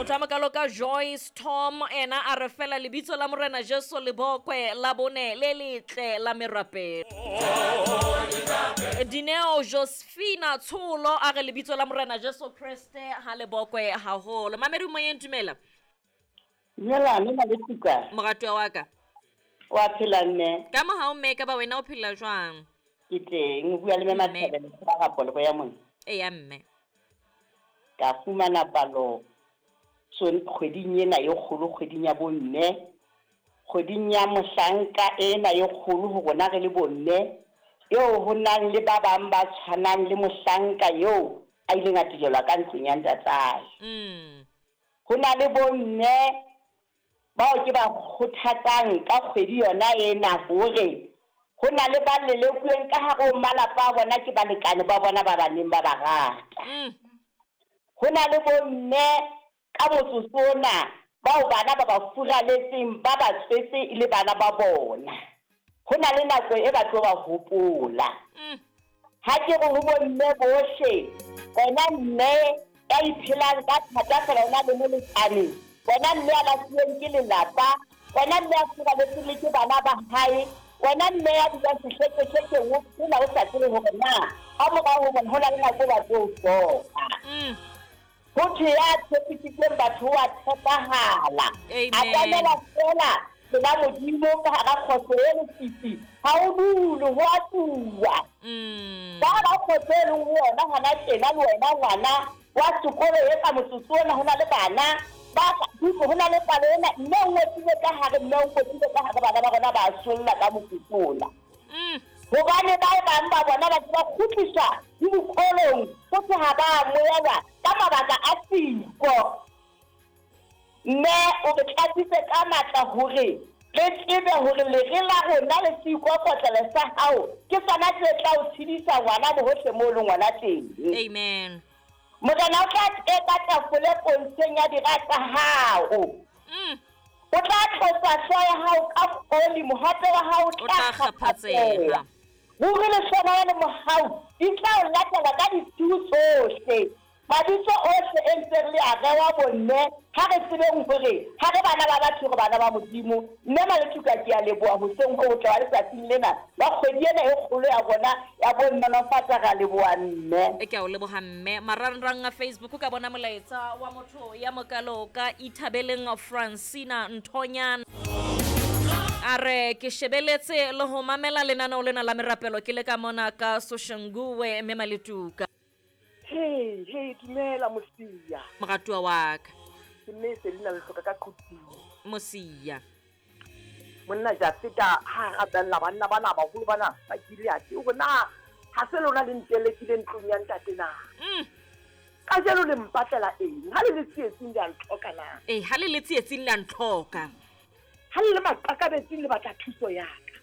Motho a mokalo ka Joyce Tom ena a re fela lebitso la Morena Jesu le bokwe la bone le letle la merapelo. Dineo Josephina Tsholo a re lebitso la Morena Jesu Kreste ha le bokwe haholo. Mamedi moyeng dumela. Dumela mme Maletuka. Moratuwa wa ka. Wa phela mme. Ka mohau mme ka ba wena o phela jwang? Ke teng, o bua le mme Mathabelo ka ga ya mona. Eya mme. Ka fumana palo kgweding ena e kgolo, kgweding ya bomme, kgweding ya mohlanka ena e kgolo ho rona re le bomme, eo ho nang le ba bang ba tshwanang le mohlanka eo a ileng a tijelwa ka ntlong ya ntatae. Ho na le bomme bao ke ba kgothatsang ka kgwedi yona ena hore ho na le ba lelekuweng ka hare ho malapa a bona ke balekane ba bona ba baneng ba ba rata. Ho na le bomme ka motsotso ona bao bana ba ba furaletseng ba ba tswetse e le bana ba bona. Ho na le nako e ba tlo ba hopola. Ha ke re ho bomme bohle, wena mme ya iphelang ka thata fela o na le molekane, wena mme ya lahluweng ke lelapa, wena mme ya furaletsweng le ke bana ba hae, wena mme ya dulang sehlekehlekeng o phela o sa tsebe hore na ka morao ho bona ho na le nako ba tlo o hloka. Ho thwe ya tshepisitseng batho o a tshepahala. Atamela feela pela Modimo ka hara kgotso e lefifi, ha o dule, ho a tsuwa. Ka hara kgotso e leng ho yona hona tjena, le wena ngwana wa sekolo e ka motsotso ona ho na le bana ba dutse, ho na le palo ena, mme o ngotsile ka hare, mme o ngotsile ka hare, bana ba rona ba solla ka motsotso ona. Hobane ba bang ba bona ba se ba kgutliswa le dikolong, ho thwe ha ba amohelwa ka mabaka a siko. Mme o re tlatsitse ka matla hore re tsebe hore lere la rona le seikokotlelo sa hao ke sona se tla o tshedisa ngwana bohohle moo o leng ngwana teng. Amen. Morena o tla teka tafole pontsheng ya dira tsa hao. O tla tlotsa hlooho ya hao ka oli, mohape wa hao o tla kgaphatseha. Ruri lehlohonolo le mohau di tla o latela ka ditshiu tsohle. Mabitso ohle e ntseng le a rewa bomme, ha re tsebeng hore ha re bana ba batho, re bana ba Modimo. Mme Malethuka, ke a leboha hoseng ho hotle wa letsatsing lena la kgwedi ena e kgolo ya rona ya bomme. Nolofatsa, re a leboha mme. Ke a o leboha mme. Marangrang a Facebook ka bona molaetsa wa motho ya mokalo ka Ithabeleng Francina Nthonyana. A re ke shebeletse le ho mamela lenaneo lena la merapelo ke le ka mona ka Soshanguwe mme Maletuka. Hey, hey, dumela Mosia. Moratuwa wa ka. Ke mme Selina Lehloka ka Quthing. Mosia. Monna Jafeta ha a rapella banna bana baholo bana ba Gileade, o re na ha se lona le ntelekile ntlong ya ntate na? Kajeno le mpatlela eng? Ha le le tsietsing le a ntlhoka na? Ee, ha le le tsietsing le a ntlhoka. Ha le le maqakabetsing le batla thuso ya ka.